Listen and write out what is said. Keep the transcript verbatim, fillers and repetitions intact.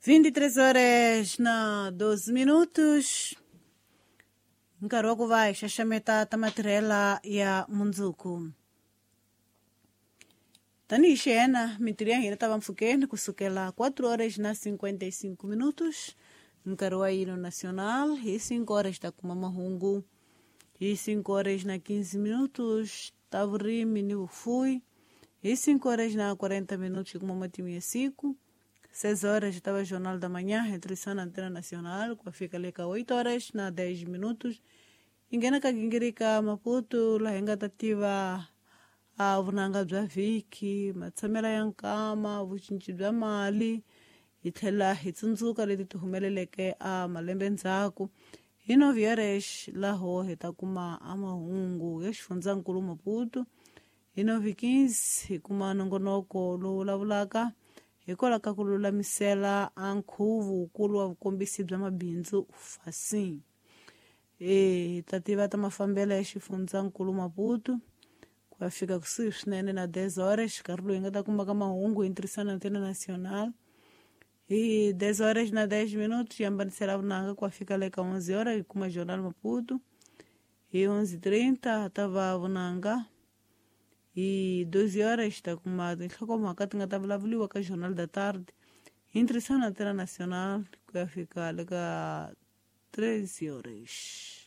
Vinte e três horas na doze minutos. Nkarhi wa ku va hi xaxameta ta matirhela ya mundzuku. Tanihi xiyena mintirho ya hina ta va mpfhukeni kusukela quatro horas na cinquenta e cinco minutos. Nkarhi wa hino nacional hi cinco horas ta kuma mahungu. Hi cinco horas na quinze minutos ta vurimi ni vufuwi. Hi cinco horas na quarenta minutos hi kuma matimu ya siku. Seis horas estava o Jornal da Manhã, retrição na Antena Nacional, com a fica ali com oito horas na dez minutos. Ingena ka gingirika Maputo, laha hi nga ta tiva a vunanga bya vhiki, matshamelo ya nkama, vucinci bya mali, hi tlhela hi tsundzuka leti ti humeleleke a malembe ndzhaku. Hi nove horas laho hi ta kuma a mahungu ya xifundzankulu Maputo. Hi nove quinze hi kuma nongonoko lowu vulavulaka hikwalaho ka ku lulamisela a nkhuvo wukulu wa vukombisi bya mabindzu Fasin. E hi ta tiva ta mafambelo ya xifundzankulu Maputo ku ya fika kusuhi swinene na dez horas, nkarhi lowu hi nga ta kumaka mahungu hi ntirhisano na Antena Nacional. Hi dez horas na dez minutos hi hambanisela vunanga ku ya fika le ka onze horas hi kuma Jornal Maputo. Hi onze trinta ta va vunanga. Hi doze horas ta kuma tinhlokomhaka ti nga ta vulavuriwa ka Jornal da Tarde hi ntirhisano na Antena Nacional ku ya fika le ka treze horas.